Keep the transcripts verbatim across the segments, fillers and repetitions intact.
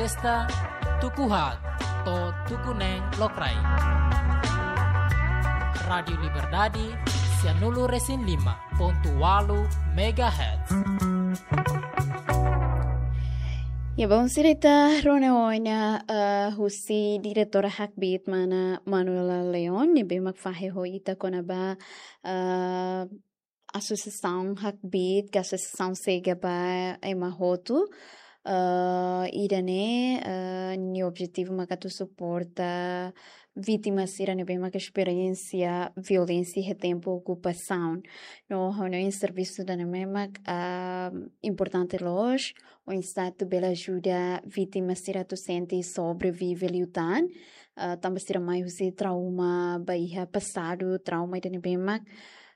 Testa tuku haat to'o tuku neen lokraik. Rádiu Liberdade, sianulu resin lima pontu ualu megahertz. Ya, bom, sira ita rona ona, eh, husi diretora Hakbiit, mana Manuela Leon, ne'ebé mak fahe ho ita kona-ba, eh, asosiasaun Hakbiit, ka asosiasaun sega ba ema hotu. Eh, ida-ne'e, eh, nia objetivu mak atu suporta vítima sira ne'ebé mak esperiénsia violénsia iha tempu okupasaun. No, ha'u hanoin servisu ida-ne'e mak, ah, importante loos, oinsá atu bele ajuda vítima sira atu sente sobrevive liután, ah, tanba sira mai husi trauma ba iha pasadu, trauma ida ne'ebé mak,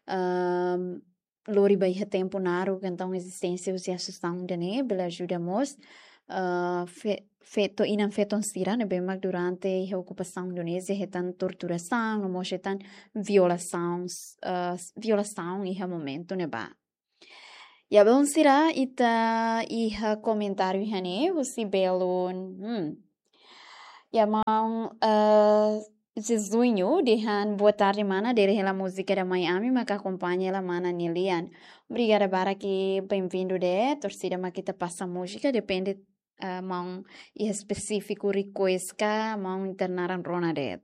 ah, lori ba iha tempu naruk, entaun ezisténsia husi asosiasaun ida-ne'e bele ajuda mós, ah, fe-, feto, inan-feton sira ne'ebé mak durante iha okupasaun Indonézia hetan torturasaun, no mós hetan violasaun, ah, violasaun iha momentu ne'ebá. Ya, bom, sira, ita iha komentáriu iha ne'e, husi belun, hmm. Ya, maun, eh, Zezuño dehan, "Boa tarde, mana. Dere hela múzika da Miami, maka akompaña hela mana nia lian." Obrigada barak, bem-vindu de'it. Torsida mak ita pasa múzika, depende, eh, maun iha espesífiku request ka, maun ita naran rona de'it.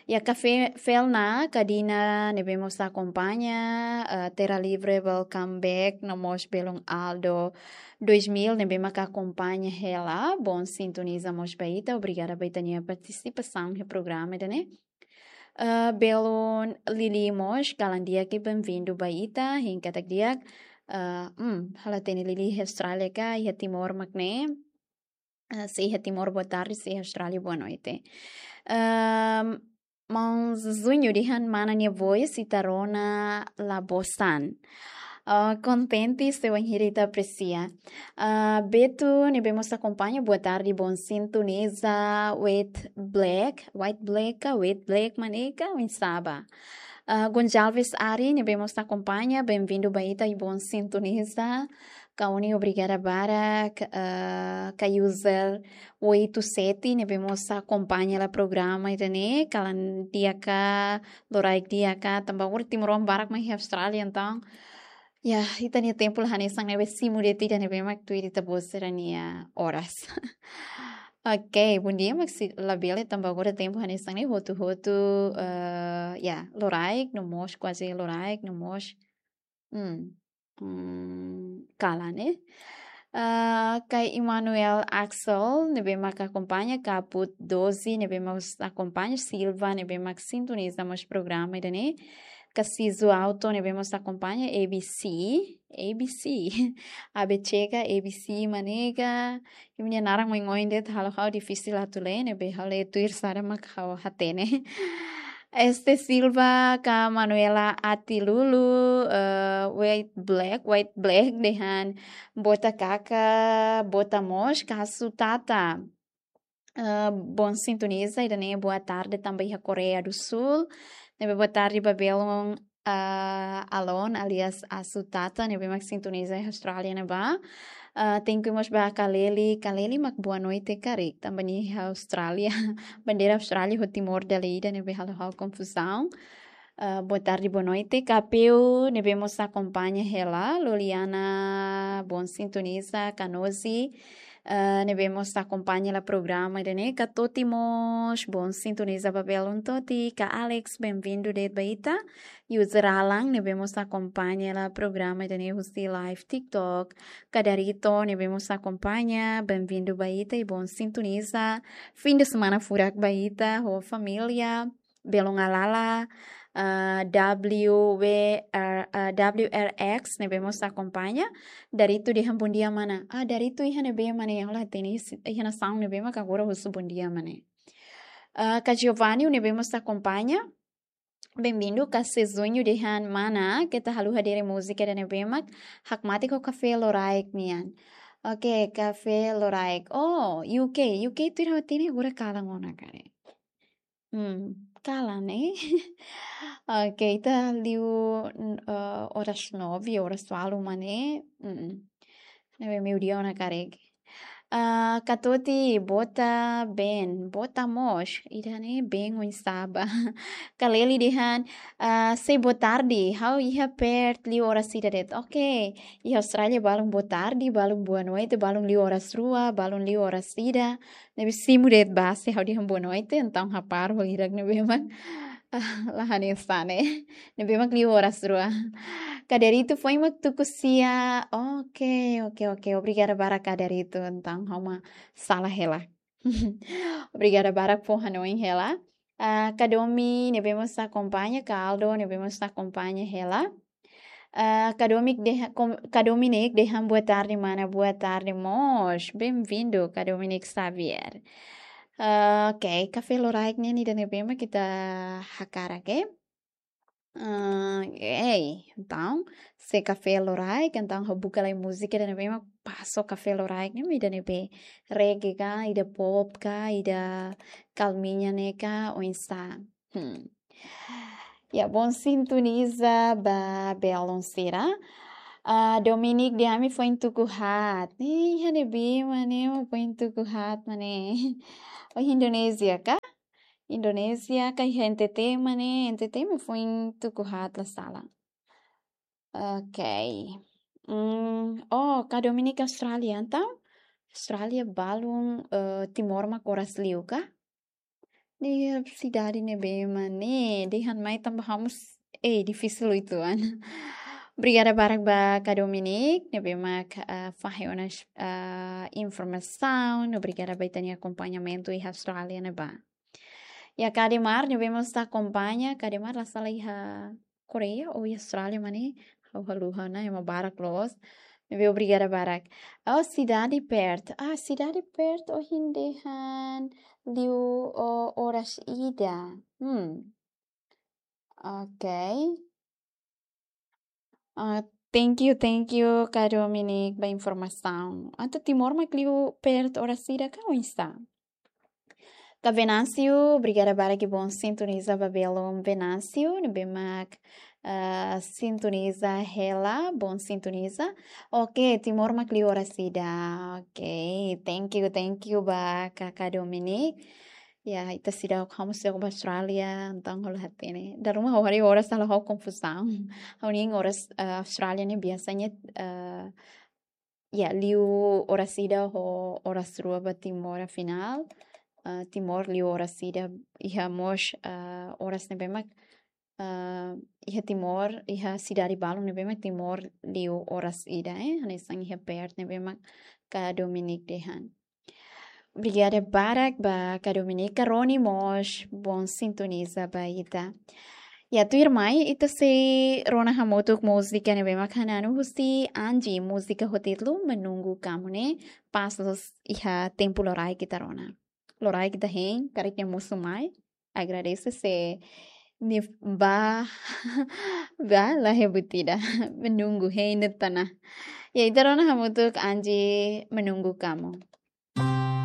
Ya, Café Felna, Kadina, ne'ebé mós akompaña, eh, Terra Livre, welcome back, no mós belun Aldo, dois mil, ne'ebé maka akompaña hela, bom sintoniza mós ba ita, obrigada ba ita-nia partisipasaun iha programa ida-ne'e. Eh, belun Lili mós, kalan di'ak, bem-vindu ba ita, hein katak di'ak, eh, hmm, ha'u la hatene Lili iha Austrália ka, iha Timor mak ne'e. Eh, se iha Timor, boa tarde, se iha Austrália, boa noite. Ehm, maun Zezuño dehan mana nia voice ita rona la bosan. Ah, kontente se wainhira ita apresia. Ah, Beto, ne'ebé mós akompaña, boa tarde, bom sintoniza, White Black, White Black ka, White Black mak ne'e ka, oinsá ba. Ah, Gonçalves Ari, ne'ebé mós akompaña, bem-vindu ba ita i bom sintoniza. Kauni, obrigada barak, eh, ka user oito sete, ne'ebé mós akompaña hela programa ida-ne'e, kalan di'ak ka, loraik di'ak ka, tanba agora timoroan barak mai iha Austrália, entaun, ya, ita-nia tempu la hanesan ne'ebé simu de'it ida ne'ebé mak tuir ita-boot sira-nia oras. Ok, bom dia, mak sei labele, tanba agora tempu hanesan ne'e hotu-hotu, eh, ya, loraik, no mós kuaze loraik, no mós Hmm. Hmm, kalan, eh. Ah, Kai Emmanuel Axel, ne'ebé mak akompaña, Kaput doze, ne'ebé mós akompaña, Silva, ne'ebé mak sintoniza mós programa ida-ne'e. Kasizu Auto, ne'ebé mós akompaña, A B C, A B C. A B C ka, A B C mak ne'e ka, imi-nia naran oioin de'it, halo ha'u difisil atu lee, ne'ebé ha'u lee tuir sira mak ha'u hatene. Este Silva ka Manuela Atilulu, eh, White Black, White Black dehan bota kaka, bota mós kasu tata. Eh, bom sintoniza, ida-ne'e boa tarde tanba iha Koreia do Sul. Ne'ebé boa tarde ba belun, ah, Alon, alias Asu Tata, ne'ebé mak sintoniza iha Austrália ne'ebá. Ah, thank you mós ba Kaleli. Kaleli mak boa noite karik, tanba nia iha Austrália. Bandeira Austrália ho Timor dala ida, ne'ebé halo ha'u konfuzaun. Ah, boa tarde, boa noite. Kapeu, ne'ebé mós akompaña hela. Loliana, bom sintoniza. Kanozi, ah, ne'ebé mós akompaña hela programa ida-ne'e. Ka Toti mós, bom sintoniza ba belun Toti. Ka Alex, bem-vindu de'it ba ita. User Alan, ne'ebé mós akompaña hela programa ida-ne'e husi live TikTok. Ka Darito, ne'ebé mós akompaña, bem-vindu ba ita i bom sintoniza. Fim de semana furak ba ita ho família. Belun Alala, ah, W R, ah, W R X, ne'ebé mós akompaña. Darito dehan bom dia, mana. Ah, Darito iha ne'ebé, mana, ha'u la hatene, iha nasaun ne'ebé mak agora husu bom dia, mana. Ah, ka Giovanni, ne'ebé mós akompaña. Bem-vindu, ka Sezuño dehan mana, keta haluha dere múzika ida ne'ebé mak hakmatek ho kafé loraik nian. Ok, kafé loraik. Oh, U K, U K tuir ha'u hatene agora kalan ona karik. Hmm, kalan, eh? Ok, ita liu, n-, eh, oras nove, oras ualu mak ne'e. Mm-mm. Ne'ebé meiudia ona karik. Ah, Katoti, bota bem, bota mós. Ida-ne'e bem oinsá ba. Kaleli dehan, ah, sei boa tarde, ha'u iha Perth liu oras ida de'it. Oke, iha Austrália balun boa tarde, balun boa noite, balun liu oras rua, balun liu oras ida. Ne'ebé simu de'it ba, se ha'u dehan boa noite, entaun ha'u para ho hirak ne'ebé mak, ah, la hanesan ne'e. Ne'ebé mak liu oras rua. Kaderito foin mak tuku sia. Oke, oke, oke. Obrigada barak, Kaderito. Entaun ha'u mak sala hela. Obrigada barak fó hanoin hela. Ah, Kadomi ne'ebé mós akompaña, Kaldo ne'ebé mós akompaña hela. Ah, Kadomi deha-, kom-, Kadomi Nick dehan boa tarde, mana. Boa tarde mós. Bem-vindo, Kadomi Nick Xavier. Ah, oke, kafé loraik nian ida ne'ebé mak ita hakarak, eh? Ah, ei, entaun, se kafé loraik, entaun ha'u buka lai múzika ida ne'ebé mak pas ho kafé loraik nian, ida ne'ebé reggae ka, ida pop ka, ida kalminha ne'e ka, oinsá. Hmm. Ya, bom sintoniza ba belun sira. Ah, Dominic dehan ami foin tuku haat. Eh, iha ne'ebé mak ne'e, foin tuku haat mak ne'e. Oh, Indonézia ka? Indonézia ka iha N T T mak ne'e, N T T mak foin tuku haat la sala. Oke. Hmm, oh, Kak Dominic Austrália, entaun? Austrália balun, eh, Timor mak oras liu ka? Ne'e sidade ne'ebé mak ne'e, dehan mai tanba ha'u mós, eh, difisil uitoan. Obrigada barak ba Kak Dominic, ne'ebé mak, ah, fahe ona, ah, informasaun, obrigada ba ita-nia akompañamentu iha Austrália ne'ebá. Ya, Kak Demar, ne'ebé mós akompaña, Kak Demar la sala iha Koreia ou iha Austrália mak ne'e, ha'u haluha ona, ema barak loos. Ne'ebé obrigada barak. Oh, sidade Perth. Ah, sidade Perth ohin dehan liu, oh, oras ida. Hmm. Oke. Ah, thank you, thank you, Kak Dominic, ba informasaun. Entaun Timor mak liu Perth oras ida ka oinsá? Kak Venâncio, obrigada barak, bom sintoniza ba belun Venâncio, ne'ebé mak, ah, sintoniza hela, bom sintoniza. Oke, Timor mak liu oras ida. Oke, thank you, thank you ba Kak Dominic. Ya, ita seidauk, ha'u mós seidauk ba Austrália, entaun ha'u la hatene. Dala ruma ha'u haree oras sala ha'u konfuzaun. Ha'u-nia oras, eh, Austrália ne'e biasanya, eh, ya, liu oras ida ho oras rua ba Timor, afinál. Eh, Timor liu oras ida, iha mós, eh, oras ne'ebé mak, eh, iha Timor, iha sidade balun ne'ebé mak Timor liu oras ida, eh. Hanesan iha Perth ne'ebé mak Kak Dominic dehan. Obrigada barak ba Kak Dominic, Roni mós, bom sintoniza ba ita. Ya, tuirmai, ita sei rona hamutuk múzika ne'ebé mak hananu husi Angie, múzika ho títulu Menunggu Kamu ne'e, pas loos iha tempu loraik ita rona. Loraik ita hein, karik nia mosu mai, agradese se nia bá, bá la he buat ida. Menunggu, hein ne'e tana. Ya, ita rona hamutuk Angie, Menunggu Kamu.